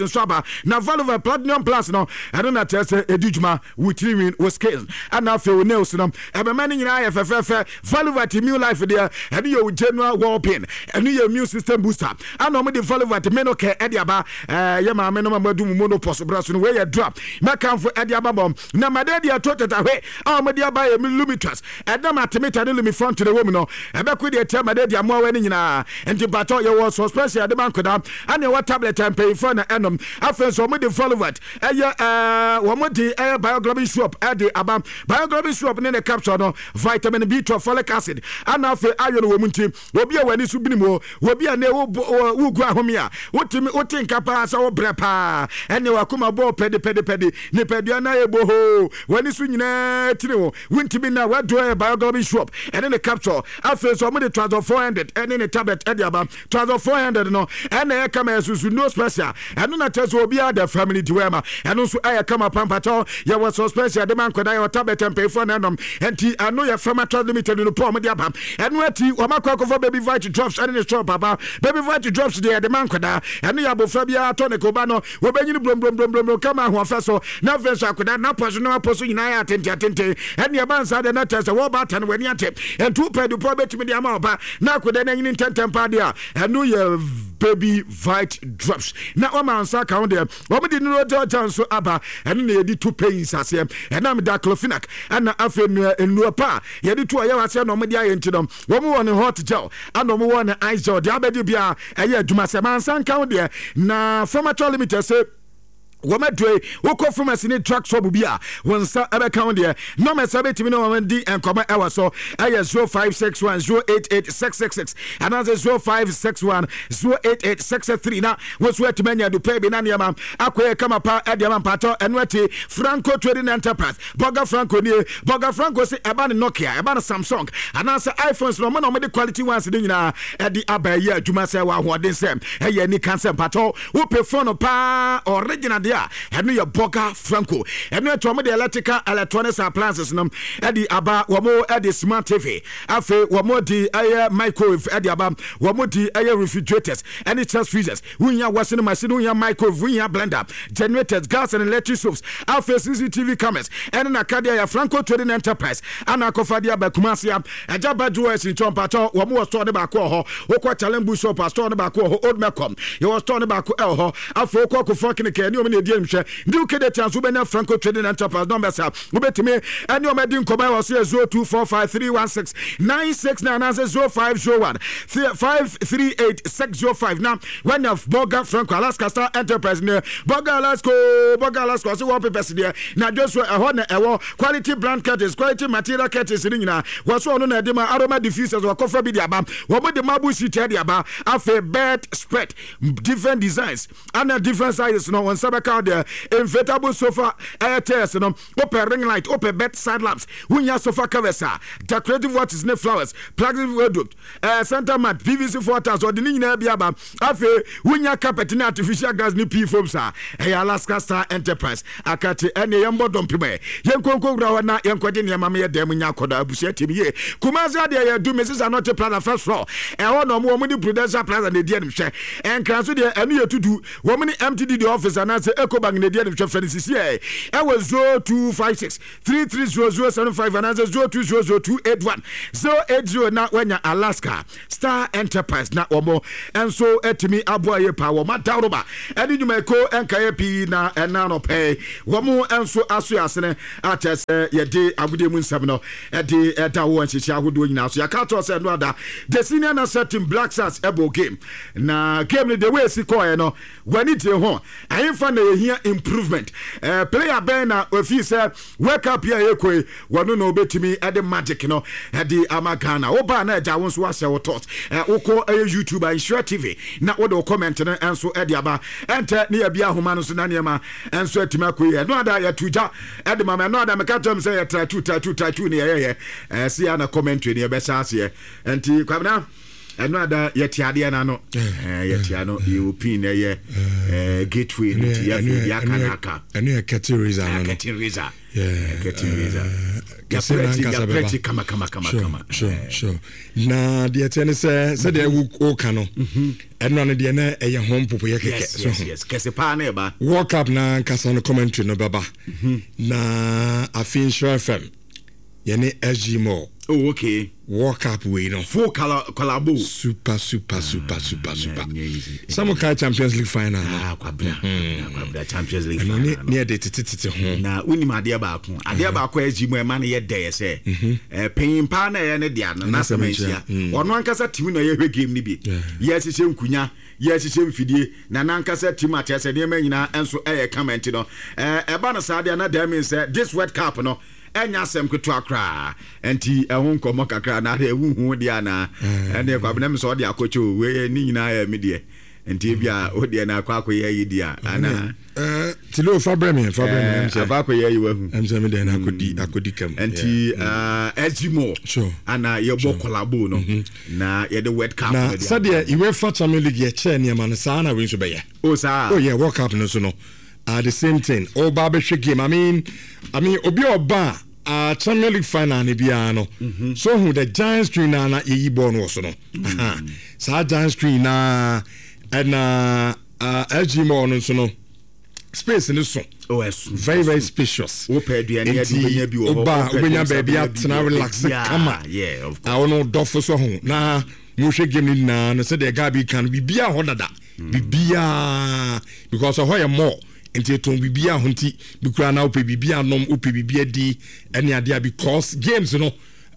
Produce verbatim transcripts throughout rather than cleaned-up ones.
Nso aba na Valuva Platinum Plus no, ɛno na kyerɛ sɛ ɛdi dwuma wo tirinwi, wo skin, ɛna afei wo nails no, ɛbɛma no nyinaa yɛ fɛfɛɛfɛ. Valuvat Immune Life deɛ, ɛno yɛ wo general well-being, ɛno yɛ immune system booster. Ɛna ɔmo de Valuvat Menocare ɛde aba. ɛɛ yɛ maame no ma mo adu mu menopause brɛ so no, wei yɛ drop mɛkanfo ɛde aba bɔm. Na made deɛ ɛto tetahwe a ɔmo de aba yɛ Lumitrust. Ɛnam artemether ne lumefantrine wɔ mu no, ɛbɛko deɛ tia made deɛ amoawa no nyinaa. Nti mpatɔ yɛwɔ suspension yɛde ma nkɔda, ɛne ɛwɔ tablet a mpanyinfoɔ na ɛnom. Afei nso ɔmo de Valuvat ɛyɛ ɛɛ wɔn de ɛyɛ Bioglobin syrup ɛde aba. Bioglobin syrup ne ne capsule no, vitamin B twelve, folic acid, ɛna afei iron wɔ mu. Nti obi a w'ani so binim o, obi a ne wo wogu ahome a wotumi wote nka paa sɛ wobrɛ paa, ɛne wakoma bɔɔ pɛdepɛdepɛde, nipadua no ayɛ bohoo, w'ani so nyinaa tiri wo, wontumi na wado ɛyɛ Bioglobin syrup ɛne ne capsule. Afei nso ɔmo de Trazol four hundred ɛne ne tablet ɛde aba. Trazol four hundred no ɛna ɛyɛ kama, ɛsusu no special. Ɛno na kyerɛ sɛ obiara da family diwɛma, ɛno nso ɛyɛ kama pampatɔ. Yɛwɔ suspension yɛde ma nkɔda, yɛwɔ tablet mpanyinfoɔ na ɛnom. Nti ɛno yɛ Pharma Limited no pɔ ɔmo de aba. Ɛno akyi wɔn akɔ akɔfɔ Baby Vite Drops ɛne ne syrup aba. Baby Vite Drops deɛ, yɛde ma nkɔda. Ɛno yɛ abofra biara tɔ ne koba no, wɔbɛnyini blomblomblomblom kama ahoɔfɛ so. Na afei nso akɔda n'apɔ so na apɔ so nyinaa yɛ atente atente. Ɛne ɛba nsa deɛ na kyerɛ sɛ wɔba ata no w'ani ate. Nti wopɛ dupɔ bɛtumi de ama ɔba na akɔda no anyini ntɛntɛm paa deɛ a, ɛno yɛ Baby Vite Drops. Na wɔma nsa ka ho deɛ, wɔn de Nurogel gel nso aba. Ɛno na yɛde tu pains aseɛ, ɛnam diclofenac ɛna afei nnua nnua pa a yɛde tu ɔyɛ aseɛ na wɔn de ayɛ. Nti no wɔn wɔ ne hot gel ɛna wɔn wɔ ne ice gel deɛ abɛgye bia ɛyɛ adwuma sɛ mansa nka ho deɛ. Na Pharmatrol Limited sɛ wɔn adure, wokɔ pharmacy ne drug shop bi a, wɔn nsa ɛbɛka ho deɛ. Numbers a bɛtumi ne wɔn di nkɔmɔ ɛwɔ so ɛyɛ zero five six one zero eight eight six six six anaasɛ zero five six one zero eight eight six three. Na wɔn nso atumi anya dupɛ bi na nneɛma akɔyɛ kama pa ɛde ama mpatɔ. Ɛno akyi Franco Trading Enterprise, Burger Franco nie. Burger Franco sɛ ɛba ne Nokia, ɛba ne Samsung anaasɛ iPhones na ɔmo na ɔmo de quality ones ne nyinaa ɛde aba. Ɛyɛ adwuma sɛ wɔ ahoɔden sɛ ɛyɛ nika sɛ mpatɔ wopɛ phone paa original deɛ a, ɛno yɛ Burger Franco. Ɛno akyi wɔn de electrical electronics appliances no ɛde aba. Wɔn ɛde smart T V, afei wɔn de ɛyɛ microwave ɛde aba, wɔn de ɛyɛ refrigerators ɛne chest freezers, wonya washing machine, wonya microwave, wonya blender, generators, gas and electric stoves, afei C C T V cameras ɛne n'akadeɛ. Yɛ Franco Trading Enterprise ana akɔfa de aba Kumase a ɛgya ba jewelers nkyɛn. Mpatɔ wɔn wɔ store ne baako wɔ hɔ. Wokɔ Challenge Bush shop a, store ne baako wɔ hɔ. Old Melcom, yɛwɔ store ne baako ɛwɔ hɔ. Afei wokɔ Kofoɔ Clinic, ɛne wɔn na edi nhwɛ ndi wo kede tia nso, wobɛnya Franco Trading Enterprise numbers a wobɛtumi ɛne wɔn adi nkɔmɔ ɛwɔ so yɛ zero two four five three one six nine six nine anaasɛ zero five zero one five three eight six zero five. Na wanya Burger Franco. Alaska Star Enterprise ne Burger Alaska, Burger Alaska ɔsɛ wallpapers deɛ na adwosuo ɛhɔ na ɛwɔ quality brand curtains, quality material curtains ne nyinaa wɔso. Ɔno na ɛde ma aroma diffusers, wɔkɔfa bi de aba. Wɔn de marble sheet ɛde aba. Afei bed spread, different designs ana different sizes no, wɔn nsa bɛka deɛ. Inflatable sofa ɛyɛ chairs no, wopɛ ring light, wopɛ bedside lamps, wonya sofa covers a decorative watches ne flowers, plastic wardrobe, ɛɛ center mat, P V C four tiles, ɔde ne nyinaa bi aba. Afei wonya carpet ne artificial grass ne pea foams a, ɛyɛ Alaska Star Enterprise akate. Ɛne yɛn bɔ dɔmpem ɛ yɛn nkonko wura hɔ na yɛn kɔgye nneɛma ma yɛ dɛm nya akɔdɔ abusua tim yie. Kumasi adeɛ yɛ du Mrs Anɔte Plaza, first floor, ɛhɔ na ɔmo wɔn de Prudential Plaza na edi anim hwɛ. Ɛnkran so deɛ, ɛno yɛ tutu wɔn ne M T D D office anaasɛ Ecobank na edi anim hwɛ. Fɛ no sisi ɛ ɛwɔ zero two five six three three zero zero seven five anaasɛ zero two zero zero two eight one zero eight zero. Na wanya Alaska Star Enterprise na wɔn nso atumi aboa yie paa. Wɔn adaworoba ɛne nnwumayɛko nkaeɛ pii na ɛna nɔpɛ wɔn nso aso asene akyɛ sɛ yɛde agodie mu nsɛm no ɛde ɛda wɔ nhyehyɛ ahodoɔ nyinaa so. Yɛaka kyerɛ sɛ no ada the senior national team Black Stars ɛbɔ game na game no, the way esi kɔɛ no, w'ani gye ho? Ɛyɛmfa na yɛhia improvement? ɛɛ player bɛn na ofi sɛ World Cup yi a yɛkɔ yi, wɔno na obetumi ɛde magic no ɛde ama Ghana? Wobaa na ɛgya wo nso ahyɛ wo thought. ɛ wokɔ ɛyɛ YouTube a, Nhyira T V, na wode wo comment no nso ɛde aba. Ɛntɛ ne yɛbi ahoma no so na nneɛma nso atumi akɔ yi. Ɛno ada yɛto gya ɛde ma ma ɛno ada meka kyerɛ m sɛ yɛ try two, try two, try two ne yɛyɛyɛ ɛɛ si ya na commentary ne yɛbɛhyɛ aseɛ. Nti Kwabena, Ɛno ada yɛte adeɛ no ano, yɛte ano, yɛwɔ pin na ɛyɛ gateway no, nti yɛafei deɛ aka no aka. Ɛno yɛ curtain raiser no. Curtain raiser, curtain raiser. Kɛse no ankasa bɛba. Yɛprɛti kama kama kama kama. Sure sure na deɛ teɛ ne sɛ, sɛdeɛ woka no, ɛno ano deɛ na ɛyɛ ho mpopoyɛ kɛkɛ. So yes, kɛse paa na ɛba. World Cup na ankasa no, commentary no bɛba na afei Nhyira F M yɛne S G Mall. Oh, okay. World Cup wei no. Full collabo. Super super super super super. Sɛ mo kae Champions League final no. Ah, kwabra kwabra, Champions League final no ne yɛde tetetete ho. Na wonim adeɛ baako, adeɛ baako a S G mu ɛma no yɛ dɛ yɛ sɛ panyin paa na ɛyɛ ne dea no n'asɛm ahyia. Ɔno ankasa timi na yɛhwɛ game no bi, yɛhyehyɛ nkunya, yɛhyehyɛ mfidie na n'ankasa tim akyerɛ sɛ nneɛma nyinaa nso ɛyɛ kama. Nti no ɛba no saa deɛ na that means sɛ this World Cup no ɛnya asɛm ketewa koraa. Nti ɛho nkɔmmɔ kakra na adeɛ wohu deɛ anaa ɛne Kwabena mi sɛ ɔde akɔkyɛ o, wei ne nyinaa yɛ me deɛ, nti ebi a o deɛ na akɔ akɔyɛ yi deɛ anaa. Tilo, fa brɛ me, fa brɛ me. Akɔ akɔyɛ yi wahu. Ɛm sɛ me deɛ na akɔdi akɔdi kam. Nti S G Mall ana yɛbɔ collabo no na yɛde World Cup. Na sɛdeɛ UEFA Champions League yɛkyɛɛ nneɛma no saa na wei nso bɛyɛ. O saa. Oh yeah, World Cup no so no uh, the same thing, ɔba abɛhwɛ game. i mean i mean obi a ɔba a uh, Champions League final ne biara no mm -hmm. so hu the giant screen na na yɛyi bɔɔl no wɔ so no mm -hmm. Saa giant screen na ɛna uh, S G Mall no nso no, space no so. Oh, ɛso. Very very spacious. Wopɛ aduane adi, wobɛnya bi wɔ hɔ. Woba, wobɛnya baabi atena, relax kama. Yeah, of a wɔn dɔfo so ho na mohwɛ game no nyinaa no, sɛdeɛ Gabi kan no, biribiara hɔ dada, biribiara, because ɛhɔ yɛ mall nti ɛtɔn biribiara ho. Nti bi koraa na wopɛ biribi anom, wopɛ biribi adi ɛne adeɛ, because games no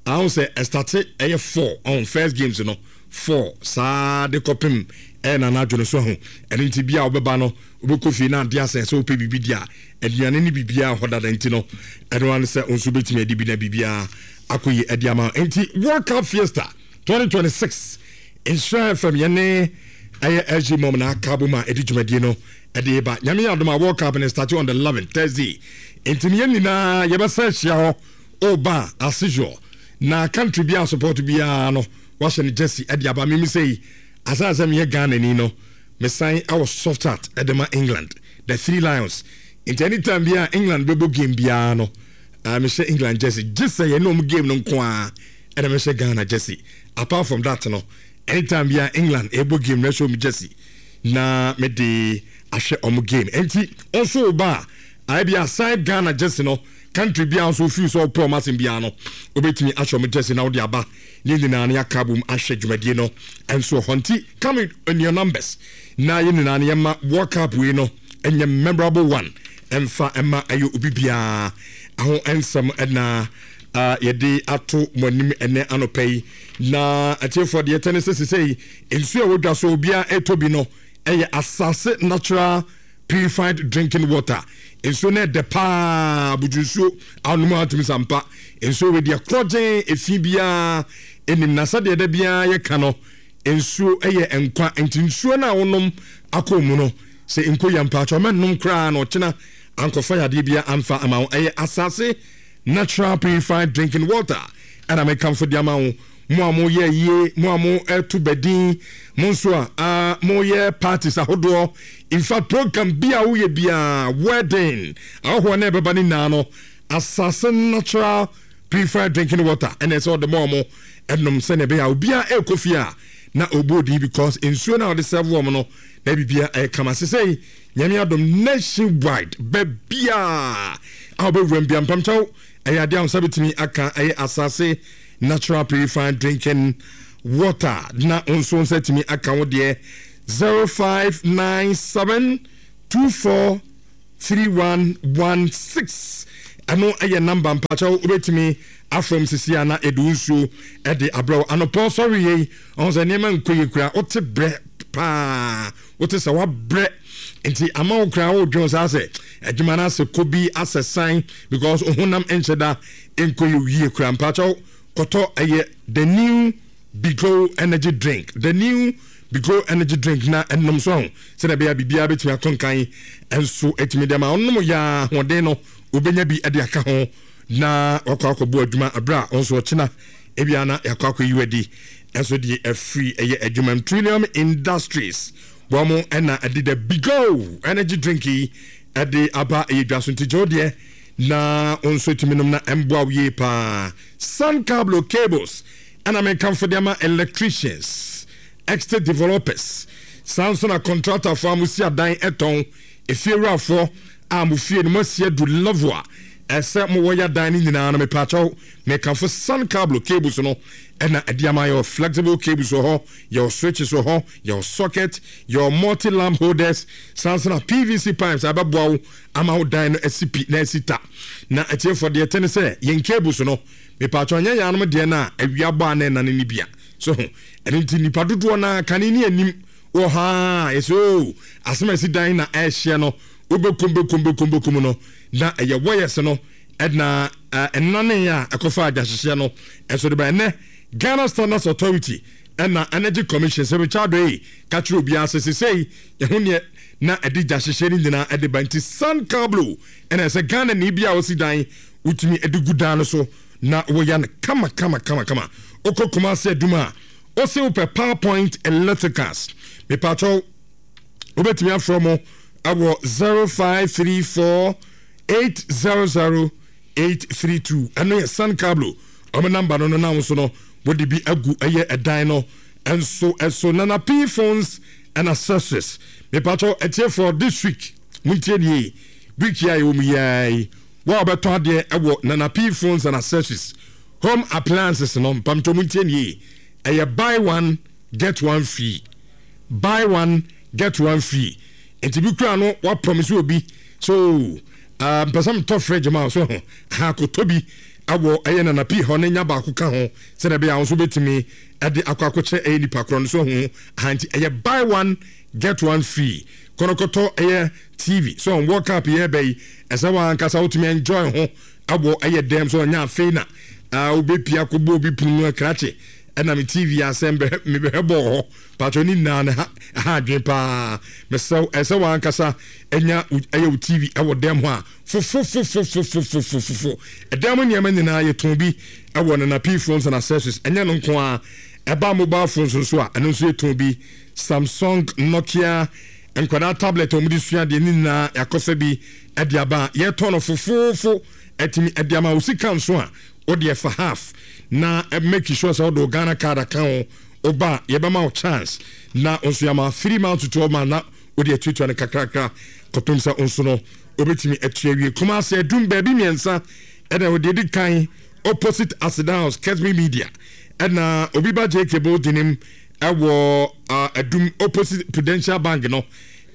ahun sɛ ɛstart ɛyɛ four ɔn, first games no four saa de kɔpem ɛyɛ nana adwo so ho. Ɛno nti bi a wobɛba no, wobɛkɔ fie na adeɛ asɛn sɛ wopɛ biribi di a, aduane ne biribiara hɔ dada. Nti no ɛno ano sɛ nso wobɛtumi adi bi na biribiara akɔ yi adi ama. Nti World Cup Fiesta twenty twenty-six, Nhyira F M yɛne ɛyɛ S G Mom na aka bom a ɛde dwumadie no ɛde ba. Nyame yɛ adom a, World Cup no start on the eleven Thursday, nti ne yɛn nyinaa yɛbɛsa ahyia hɔ. Ɔba as usual na country biara support biara no, wahyɛ no jersey ɛde aba. Mimi sɛ yi asan sɛ meyɛ Ghana ni no, mesan ɛwɔ soft heart ɛde ma England, the Three Lions. Nti anytime biara England bɛbɔ game biara no, uh, mehyɛ England jersey, gye sɛ yɛne ɔmo game no nko ara ɛna mehyɛ Ghana jersey. Apart from that no, anytime biara England ɛbɔ game no, ɛhyɛ ɔmo jersey na mede ahwɛ ɔmo game. Nti ɔnso ba a, ayɛ bi aside Ghana jersey no, country biara nso ofiri sɛ ɔpɛ ɔmo asɛm biara no, obetumi ahyɛ ɔmo jersey na ɔde aba ne nyinaa no yɛaka bom ahwɛ dwumadie no nso hɔ. Nti come in your numbers na yɛn nyinaa no yɛma World Cup wei no ɛnyɛ memorable one ɛmfa ɛma ɛyɛ obi biara aho nsɛm. Ɛna uh, yɛde ato mo anim ɛnɛ anɔpɛ yi na atiefoɔ deɛ ɛtɛ ne sɛ sesɛ yi nsuo a wɔdwa so obiara ɛtɔ bi no ɛyɛ Asase Natural Purified Drinking Water. Nsuo no ɛdɛ paa, buju nsuo anom atumi sampa nsuo wei deɛ korɔgyen efi biara enim. Na sɛdeɛ ɛda biara yɛka no, nsuo ɛyɛ nkwa. Nti nsuo no a wonom akɔ mu no, sɛ nko yɛ mpaatwa ɔmɛ koraa na ɔkyena ankɔfa yadeɛ biara amfa ama wo. Ɛyɛ Asase Natural Purified Drinking Water ɛna mekamfo de ama wo. Mo a moyɛ yie, mo a mo ɛto bɛdin, mo nso a a moyɛ parties ahodoɔ, in fact program bi a woyɛ biara, wedding ahohoɔ na ɛbɛba ne nyinaa no, Asase Natural Purified Drinking Water ɛna ɛsɛ ɔde mo ɔmo ɛnom, sɛnea ɛbɛyɛ a obiara ɛrekɔ fie a na ɔbɔ odin, because nsuo no a ɔde serve wɔn no na biribiara ɛyɛ kama. Sesei Nyame adom, nationwide baabiaa a wobɛwura m bia mpamkyɛw, ɛyɛ adeɛ a wo nsa bɛtumi aka ɛyɛ Asase Natural Purified Drinking Water na wo nso nsa tumi aka wo deɛ. zero five nine seven two four three one one six, ɛno ɛyɛ number. Mpakyɛw, wobɛtumi afrɛm sisi a na ɛde wo nsuo ɛde abrɛ wo anɔpɔ sɔre yei. Ɔho sɛ nneɛma nkɔ yie kura, wote brɛ paa, wote sɛ wabrɛ, nti ama wo koraa wodwen saa sɛ adwuma no asɛ kɔ bi asɛ san, because honam nhyɛ da nkɔ yie kura. Mpakyɛw, kɔtɔ ɛyɛ the new Bigo Energy Drink, the new Bigo Energy Drink na ɛnom so ho sɛdeɛ ɛbɛyɛ biribiara bɛtumi akɔ nkan nso ɛtumi de ama ɔnom yɛ ahoɔden no, wobɛnya bi de aka ho na wakɔ akɔbɔ adwuma aberɛ a ɔnso ɔkyena ebia na yɛakɔ akɔ yi wadi. Ɛnso deɛ afiri ɛyɛ adwuma Trillium Industries wɔn ɛna ɛde the Bigo energy drink yi ɛde aba ɛyɛ dwa so. Nti gye wo deɛ na nso tumi nom na ɛmboa wo yie paa. Sun Cablo Cables ɛna mekamfo de ama electricians, estate developers, saa nso na contractorfoɔ a mosi adan ɛtɔn, efiewurafoɔ a mo fie no moasi adu level a ɛsɛ mowɔ yɛ adan no nyinaa no. Mepaakyɛw, mekamfo Sun Cablo Cables no ɛna ɛde ama. Yɛwɔ flexible cables wɔ hɔ, yɛwɔ switches wɔ hɔ, yɛwɔ socket, yɛwɔ multi lamp holders, saa nso na P V C pipes a ɛbɛboa wo ama wo dan no asi pi na asi ta. Na atiefoɔ, deɛ ɛte ne sɛ yɛn cables no, mepaakyɛw, nyɛ yɛn anom deɛ no a awia bɔ a na ɛnane no bia so ho. Ɛno nti nipa dodoɔ no a kane ne anim wɔ ha ɛsɛ o asɛm a ɛsi dan na ɛrehyɛ no, wobɛkum bɛkum bɛkum bɛkum no na ɛyɛ wires no ɛna ɛnane a ɛkɔfa agyahyehyɛ no ɛso de ba. Ɛnɛ Ghana Standards Authority ɛna Energy Commission sɛ Richard yi ka kyerɛ obiara sɛ sesei ɛho neɛ na ɛde gya hyehyɛ no nyinaa ɛde ba. Nti Sun Cablo ɛna ɛsɛ Ghana ne bi a wɔsi dan wotumi ɛde gu dan no so na wɔyɛ no kama kama kama kama. Wokɔ Kumase Adum a, ɔsɛ wopɛ PowerPoint Electricals, mepatwɛw, wobɛtumi afrɛ mo ɛwɔ zero five three four eight zero zero eight three two. Ɛno yɛ Sun Cablo ɔmo number no no nam so no wɔde bi agu ɛyɛ ɛdan no ɛnso ɛso. Nana P Phones and Accessories, mepatwɛw, ɛtiefoɔ, this week montie nie, week yi a yɛwɔ mu yiaa yi, wɔn a wɔbɛtɔ adeɛ ɛwɔ Nana P Phones and Accessories, home appliances no, mpamtɔ montie nie, ɛyɛ buy one get one free, buy one get one free. Nti bi kura no wa promise obi so uh, mpɛ sɛ metɔ fridge ma so ho ha akɔtɔ bi awɔ ɛyɛ Nana P hɔ ne nya baako ka ho sɛdeɛ ɛbɛyɛ a wo nso wobɛtumi ɛde akɔ akɔkyerɛ ɛyɛ nipa korɔ no so ho ha. Nti ɛyɛ buy one get one free. Kɔnɔkɔtɔ ɛyɛ T V so on World Cup yɛ bɛ yi, ɛsɛ wɔn ankasa wotumi enjoy ho awɔ ɛyɛ dɛm so ɔnya afei na wobɛpia akɔbɔ obi pono mu akrakye ɛna me T V asɛm mebɛhwɛ bɔɔ hɔ patro ne nyinaa no ha ha adwene paa. Mesɛw, ɛsɛ wɔn ankasa ɛnya ɛyɛ wo T V ɛwɔ dɛm hɔ a fofofofofofofofofo. Ɛdɛm mu nneɛma nyinaa yɛtɔn bi ɛwɔ Nana P Phones and Accessories. Ɛnyɛ no nko a, ɛba mobile phones nso a, ɛno nso yɛtɔn bi, Samsung, Nokia, nkwadaa tablet a wɔde sua adeɛ ne nyinaa yɛakɔfɛ bi ɛde aba a yɛtɔn no fofoofo. Ɛtumi ɛde ama wo sika nso a wode ɛfa half na make sure sɛ wode wo Ghana Card aka ho. Woba a, yɛbɛma wo chance na nso yɛama three months to twelve months na wode atuatua no kakrakra kɔpem sɛ nso no wobɛtumi atua wie. Kumase Adum baabi mmiɛnsa ɛna wɔde edi kan, opposite Aseda House, Kesmi Media, ɛna obi ba J K building nim ɛwɔ Adum opposite Prudential Bank no,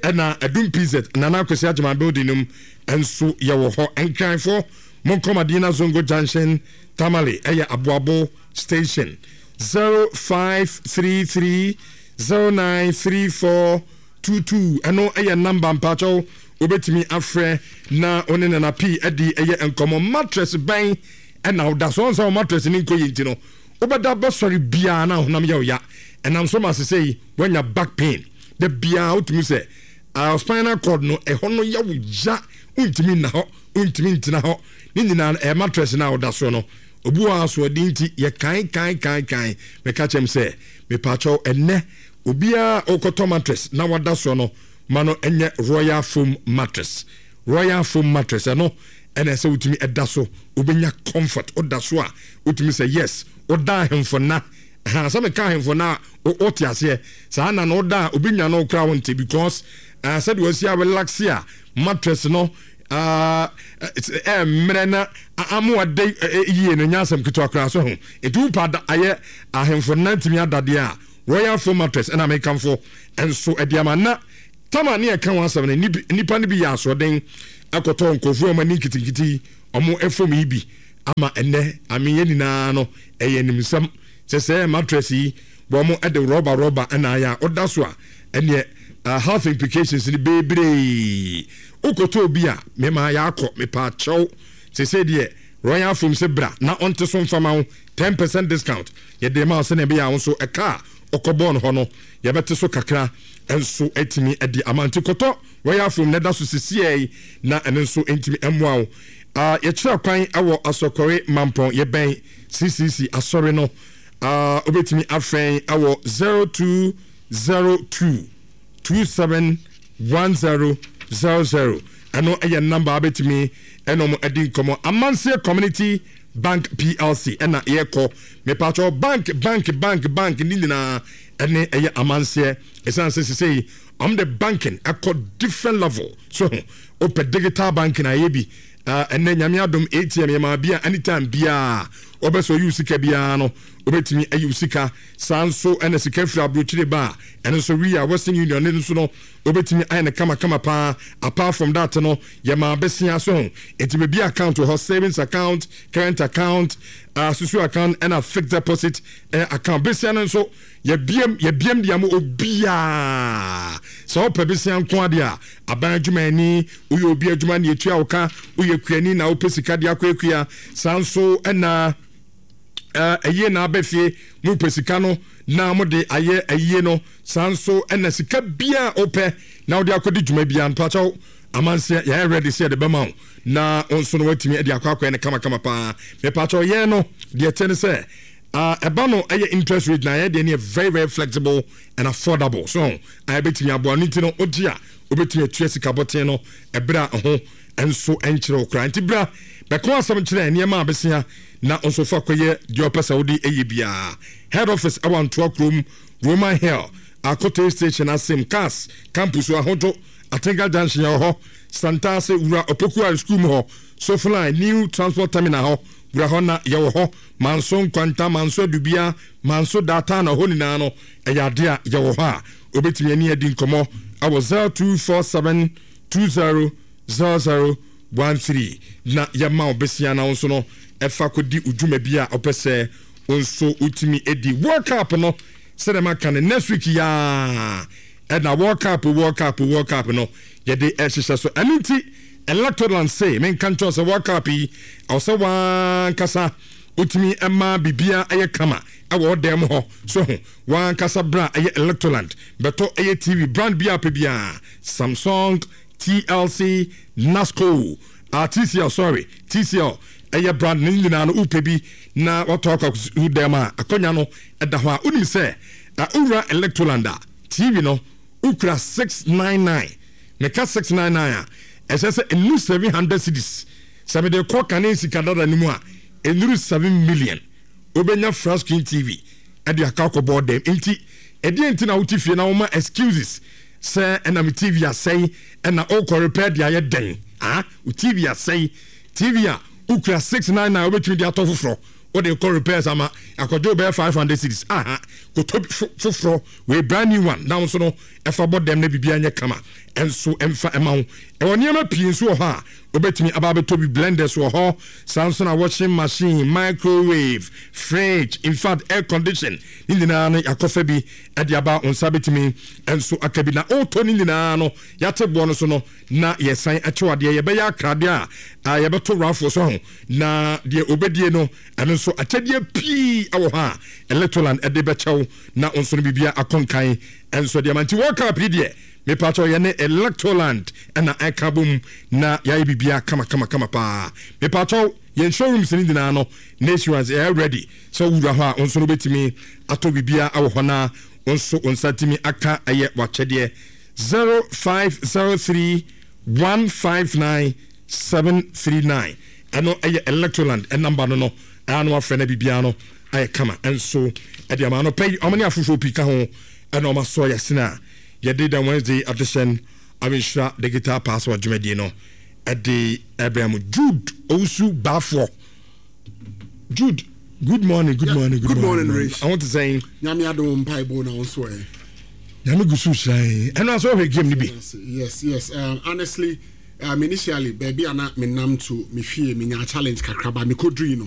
ɛna Adum P Z Nana Akwasi Agyeman building nim nso yɛwɔ hɔ. Nkranfoɔ, monkɔ Madina Zongo Junction, Tamale ɛyɛ Aboabo Station. zero five three three zero nine three four two two, ɛno ɛyɛ number mpakyɛw wobɛtumi afrɛ na wo ne Nana P adi ɛyɛ nkɔmmɔ. Mattress bɛn ɛna woda so ɔn sɛ wo mattress ne nkɔ yi nti no wobɛda bɛsɔre biara na honam yɛ wo ya, ɛnam so ma sesɛ yi woanya back pain da biara, wotumi sɛ uh, spinal cord no ɛhɔ no yɛ wo ya, wontumi nna hɔ, wontumi ntena hɔ. Ne nyinaa no ɛyɛ mattress no a woda so no. Obi wɔ asoɔden nti yɛ kan kan kan kan. Meka kyɛm sɛ mepaakyɛw, ɛnɛ obiara ɔkɔtɔ mattress na wada soɔ no, ma no ɛnyɛ Royal Foam mattress. Royal Foam mattress, ɛno ɛna ɛsɛ wotumi ɛda so, wobɛnya comfort. Woda so a, wotumi sɛ yes, woda ahemfo na ha sɛ meka ahemfo na wote aseɛ saa na na woda a obi nya no wokora wo nte because uh, sɛdeɛ wasi a relax a mattress no mmerɛ na ama wada yie no nyɛ asɛm ketewa koraa so ho. Nti wopa ayɛ ahemfo na ntumi adadeɛ a, Royal Foam mattress ɛna mekamfo nso ɛde ama. Na tama ne ɛka ho asɛm no, nipa no bi yɛ asoɔden akɔtɔ nkurɔfoɔ ɔmo ani nketenkete ɔmo ɛfam yi bi ama ɛnɛ ameyɛ nyinaa no ɛyɛ nimsɛm sɛ sɛ mattress yi wɔn ɛde rɔba rɔba ɛna ayɛ a ɔda so a ɛneɛ uh, health implications ni bebree. Wokɔtɔ obi a mema yɛakɔ mepa kyɛw sɛ deɛ Royal Foam sɛ bra na ɔnte so mfama wo ten percent discount yɛde ma wo sɛnea ɛbɛyɛ a wo nso ɛka a ɔkɔbɔɔ no hɔ no yɛbɛte so kakra nso atumi de ama. Nti kɔtɔ Royal Foam na ɛda so sisiɛ yi na ɛno nso ntumi mmoa wo. uh, yɛkyerɛ kwan ɛwɔ Asɔkɔre Mampɔn, yɛbɛn C C C asɔre no. uh, wobɛtumi afrɛ ɛwɔ zero two zero two two seven one zero zero zero. Ɛno ɛyɛ number a wobɛtumi ɛna ɔmo adi nkɔmmɔ. Amanseɛ Community Bank P L C ɛna yɛkɔ. Mepatwɛ, bank, bank, bank, bank ne nyinaa ɛne ɛyɛ Amanseɛ, ɛsiane sɛ sesei ɔmo de banking ɛkɔ different level so ho. Wopɛ digital banking a, ɛyɛ bi. Ɛnɛ Nyame adom, A T M yɛ maa bia, anytime biaa wɔbɛ sɛ ɔyi wo sika biara no, wobɛtumi ayi wo sika. Saa nso ɛna sika firi aburokyire ba a, ɛno nso wi a Western Union ne nso no, wobɛtumi ayɛ no kamakama paa. Apart from that no, yɛmaa bɛsia so ho, nti baabi account wɔ hɔ, savings account, current account, uh, susu account, ɛna fixed deposit uh, account. Bɛsia no nso yɛbiem, yɛbiem de ama obiaa. Sɛ wopɛ bɛsia nko adeɛ a, aban adwumayɛni, woyɛ obi adwuma ne yɛtua wo ka, woyɛ kuani na wopɛ sika de akɔ akua, saa nso ɛna ɛyie na aba fie, mopɛ sika no na mode ayɛ ayie no, saa nso ɛna sika bia wopɛ na wode akɔdi dwuma bia mpakyɛw, Amanseɛ yɛayɛ ready sɛ yɛde bɛma wo na wo nso no watumi de akɔ akɔyɛ no kamakama paa. Mepakyɛw, yɛn no deɛ ɛkyɛ ne sɛ ɛba no ɛyɛ interest rate na yɛ deɛ no yɛ very very flexible and affordable, so a yɛbɛtumi aboa no. Nti no wogye a, wobɛtumi atua sika bɔten no ɛberɛ a ɛho nso nkyerɛ wo koraa. Nti bra bɛka asɛm kyerɛ nneɛma a bɛsia na nso fa kɔyɛ deɛ ɔpɛ sɛ wode ɛyɛ biara. Head office ɛwɔ Antoa kurom, Roman Hill, Akote Station asem, CAS Campus, Ahodwo Atenka Junction yɛ hɔ, Santase Wura Opoku School mu hɔ, Sofoline New Transport Terminal hɔ, wura hɔ na yɛwɔ hɔ. Manso Nkwanta, Manso Adubia, Manso Data na hɔ nyinaa no ɛyɛ ade a yɛwɔ hɔ a obɛtumi ani adi nkɔmmɔ ɛwɔ zero two four seven two zero zero zero one three na yɛma wo besia na wo nso no ɛfa kɔdi odwuma bi a ɔpɛ sɛ wo nso wotumi adi. World Cup no, sɛdeɛ maka no, next week yaa ɛna World Cup, World Cup, World Cup no yɛde ɛhyehyɛ so. Ɛno nti Electroland se menka nkyɛw sɛ World Cup yi, ɛwɔ sɛ wankasa wotumi ɛma biribia ɛyɛ kama ɛwɔ ɔdan mu hɔ so ho. Wankasa bra ɛyɛ Electroland bɛtɔ ɛyɛ T V brand bi a pɛ biara, Samsung, T L C, Nasco, uh, T C L, sorry, T C L ɛyɛ brand ne nyinaa no, wopɛ bi na watɔ akɔ akɔsu dɛm a, akonnwa no ɛda hɔ a wonim sɛ wowura Electroland a, T V no wokura six nine nine. Meka six nine nine a, ɛsɛ sɛ ɛnu seven hundred cedis. Sɛ mede kɔ kane sika dada no mu a, ɛnuru seven million, wobɛnya flat screen T V ɛde aka akɔbɔ dɛm. Nti ɛdeɛ nti na wote fie na woma excuses sɛ ɛna me T V asɛe, ɛna wokɔ repair de ayɛ dɛn? Ah, wo T V asɛe, T V a wokura six nine nine wobɛtumi de atɔ foforɔ, wode kɔ repairs ama akɔgye wobɛyɛ five hundred cedis. Aha, kɔtɔ foforɔ wei, brand new one, na wo nso no ɛfa bɔ dɛm na biribiara nyɛ kama. Ɛnso ɛmfa ɛma wo. Ɛwɔ nneɛma pii nso wɔ hɔ a wobɛtumi aba abɛtɔ bi. Blenders wɔ hɔ, saa nso na washing machine, microwave, fridge, in fact air condition ne nyinaa no yɛakɔfa bi ɛde aba. Wo nsa bɛtumi nso aka bi na wotɔ ne nyinaa no, yɛate boɔ no so no na yɛsan akyew adeɛ. Yɛbɛyɛ akradeɛ a yɛbɛto raffle so ho na deɛ obɛdie no, ɛno nso akyɛdeɛ pii ɛwɔ hɔ a Electroland ɛde bɛkyɛw na wo nso no biribia akɔnkan ɛnso deɛ ma. Nti World Cup yi deɛ, mepakyɛw, yɛne Electroland ɛna ɛka bom na yɛayɛ biribia kama kama kama paa. Mepakyɛw, yɛn showrooms no nyinaa no nationwide ɛyɛ ready sɛ wowura hɔ a, wo nso no wobɛtumi atɔ biribia ɛwɔ hɔ na wo nso wo nsa tumi aka ɛyɛ wakyɛdeɛ. zero five zero three one five nine seven three nine, ɛno ɛyɛ Electroland ɛnamba no no ɛa no afrɛ no, biribiara no ayɛ kama. Ɛnso ɛde ama no pɛ yi, ɔmo ne afoforɔ pii ka ho ɛna ɔmo asɔ yɛsene a yɛde the Wednesday edition Awenhyira Digital Passport dwumadie no ɛde ɛbrɛ mu. Jude Owusu Baafoɔ, Jude, good morning, good morning. Good morning, Rich. I want to say Nyame adom, mpaebɔ na wo nso ɛ? Nyame gu so hyira. Ɛno aso ɔhwɛ game no bi? yes yes um, honestly, um, initially baabi a na menam to me fie, menya challenge kakra ba mekɔdurui no.